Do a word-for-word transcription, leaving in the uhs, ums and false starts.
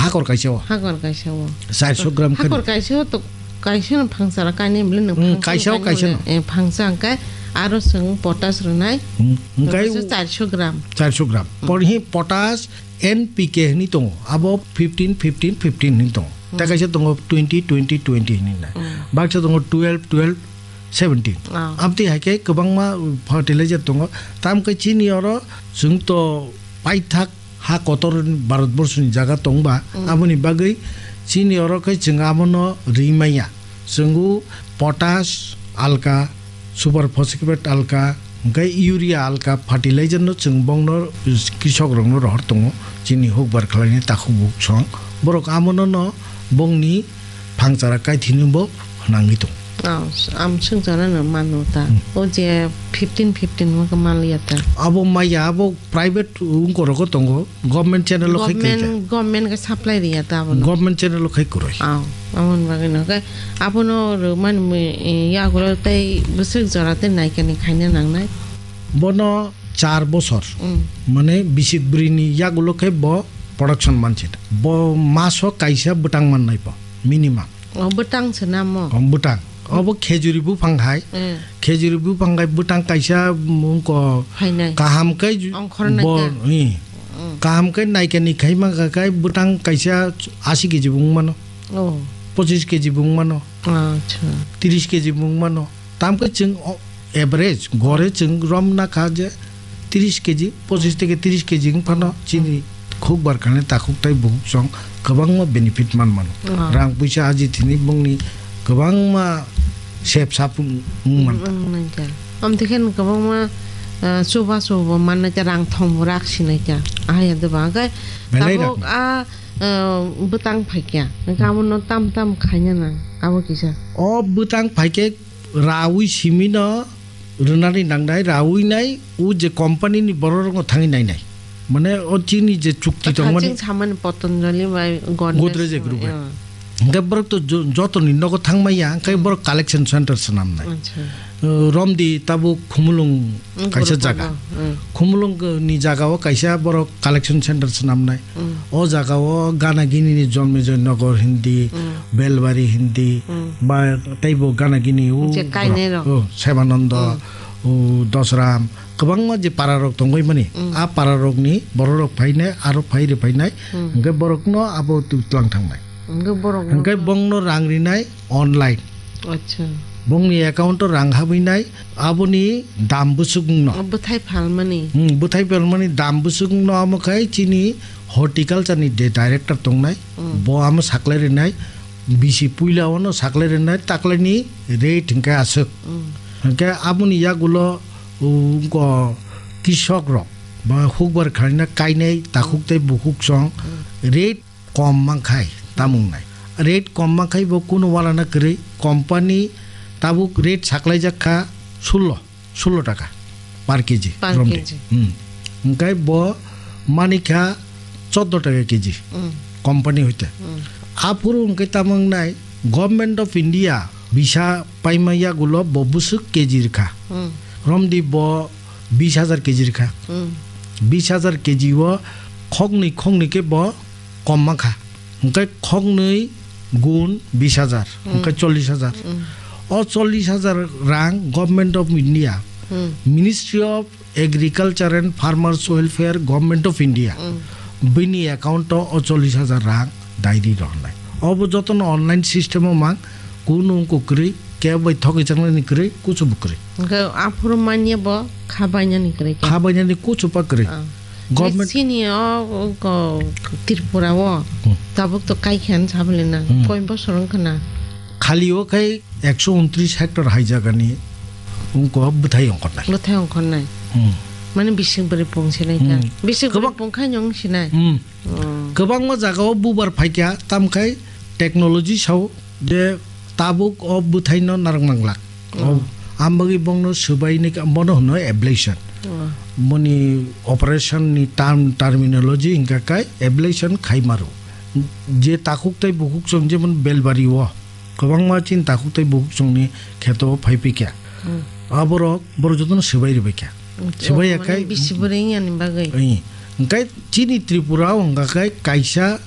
Hakor kaisa o. Hakor kaisa o. Chairso gram khani. Hakor kaisa o to, kaisa no phangsa ra kainwi bwle nang Hmm, phangsa kaisa o, kainwi kaisa bwle, no. Eh, phangsa hwnkhe aro chwng potash rwnai. Hmm, hwnkhe Kaisa chairso gram. Chairso gram. Hmm. Por hi potash N P K hwnwi tongo. Abo fifteen fifteen fifteen hwnwi tongo. Hmm. Tei kaisa tongo twenty twenty twenty hwnwi nai. Hmm. Baksa tongo twelve twelve seventeen. Ah. Amtwi hai khe kwbangma fertilizer tongo. Tam khe chini oro chwng to paithak ha kotor Bharat borso ni jaga tongba, Mm. aboni bagwi chini oro khe chwng abono ri manya. Chwngo potash alka, super phosphate alka, hwnkhe urea alka, fertilizer no chwng bongno krisok rokno rohor tongo. Chini hukbar khlaini takhuk bukhuk song. Borok abono no bongni phangchara kaithini bo hwnangwi tong. Oh, am swngcharano mano ta. Hmm. O je fifteen fifteen mo khe manliya ta. Abo maya, abo private wngkorogo tongo, government channel o khai khaikha. Government, government khe supply riya ta abono. Government channel o khai kwrwi. Oh, amoni bagwi no khe abono rwmani mui, eh, yagulo tei bwswk jora tei naikani khaina nangnai. Bono char bosor, Hmm. mane bisik bwrwini yagulo khe bo production mansi. Bo maso kaisa bwtang mannai bo, minimum. O bwtang se namo? O bwtang. Obo khejuri buphang hai. Hmm. Khejuri buphang hai bwtang kaisa, mm, ko Phainai. kaham khe ju-, Ongkhornai bo, khe. i. Hmm. Kaham khe naikani khai mangkha khai bwtang kaisa asi keji bo wng mano. Oh. Pochis keji bo wng mano. Acha. Tris keji bo wng mano. Tam khe chwng o-, average gore chwng rom na kha je tris keji, pochis theke tris keji wng phano chini khuk bar khani takhuk tai bukhuk song kwbangma benefit man mano. Ah. Rang puisa aji thini bongni kwbangma sep sap wng, wng man. Wng nai kha. Am te khe kwbangma, ah, chuba chubo man nai kha, rang thong bo rak si nai kha. Ah, ya de ba khe Belai tabuk rak nai. Ah, ah, bwtang phai kha. Hwnkhe amo no tam tam khaina nang. Abo kisa. O bwtang phai khe rawi simi no rwnani nangnai, rawi nai, o je company ni borok rokno thangwi nainai. Mane o chini je chukti tong mani Haching samani Patanjali bai Godrej Godrej Group bai. Hwnkhe borok to jo-, joto ni nogo thangmaya, hwnkhe borok collection center swnamnai. Acha. Uh, Romdi tabuk Khumulung Mm, kaisa Guru jaga. Panda, mm. Khumulung ni jaga o kaisa borok collection center swnamnai. Mm. O jaga o Gana Gini ni Jonmejoy Nagar hindi, Mm. Belbari hindi, Mm. ba teibo Gana Gini o Je kainai rok. Oh, Sebanando, Mm. o Dosram, kwbangma je para rok tongwi mani. Mm. A para rok ni borok rok phainai, aro phai rw phainai, Mm. hwnkhe borok no abo tu tlang thangnai. Hwnkhe borok Hwnkhe no bongno rang rinai online. Acha. Bongni account o rang habwi nai, aboni dam bwswk wngno. O bwthai phalmani. Hmm, bwthai phalmani dam bwswk wngno, amo khai chini horticulture ni de director tongnai, Hmm. bo amo saklai rinai, bisi puila ono saklai rinai, taklaini rate hwnkhe aswk. Hmm. Hwnkhe aboni yagulo, uh, ko kisok rok ba hukbar khlaina kainai takhuk tei bukhuk song Hmm. rate kom mankhai tamung nai. Rate kom mankhai bo kuno walana kwrwi, company tabuk rate saklaijak kha sullo, sullo taka per K G Per romdi. K G. Hmm. Hwnkhe bo manikha choddo taka K G Hmm. company hoite. Hmm. Aphuru hwnkhe tamung nai Government of India bisa paima yagulo bo bwswk K G rwkha. Hmm. Romdi bo bis hajar K G rwkha. Hmm. Bis hajar K G o khoknwi khoknwi khe bo kom mankha. Hwnkhe khoknwi gun bis hajar, Hmm. hwnkhe chollish hajar. Hmm. O chollish hajar rang Government of India, Hmm. Ministry of Agriculture and Farmers Welfare, Government of India, Hmm. bini account o o chollish hajar rang dairi rohornai. Obo jotono online system o mang, kunu wngkuk kwrwi, kebo bai thogwi changlaini kwrwi, kuchubu kwrwi. Hwnkhe aphuru manya bo kha bainani kwrwi khe. Kha bainani kuchupa kwrwi. Ah. Government Sini o, o, ko, Tripura o Hmm. tabuk to kaikha hinwi sabole na. Hmm. Koi bosor wngkha na. Khali o khai ekso untris hectare hai jagani wngkha bwthai ongkhornai. Bwthai ongkhornai. Hmm. Mane bising bwrwi pung sinai kha. Hmm. Bising bwrwi Kwbang- pung khai nw wng sinai. Hmm. Oh. Kwbangma jaga o bubar phaikha, tamkhai technology sao je tabuk o bwthaino narwk manglak. Oh. O, ambagwi bongno swbaini ka-, bono hwno ablation. Oh. Boni operation ni term, terminology hwnkha khe ablation khai maro. Je takhuk tei bukhuk song jemon Belbari o kwbangma chini takhuk tei bukhuk songni kheto phai pikha. Hmm. Aborok borok jotono swbai rwbaikha. Hmm. Swbai Oh, yakhai mane bisi bwrwi wngya ni bagwi. Oi. Hwnkhe chini Tripura o hwnkha khe kaisa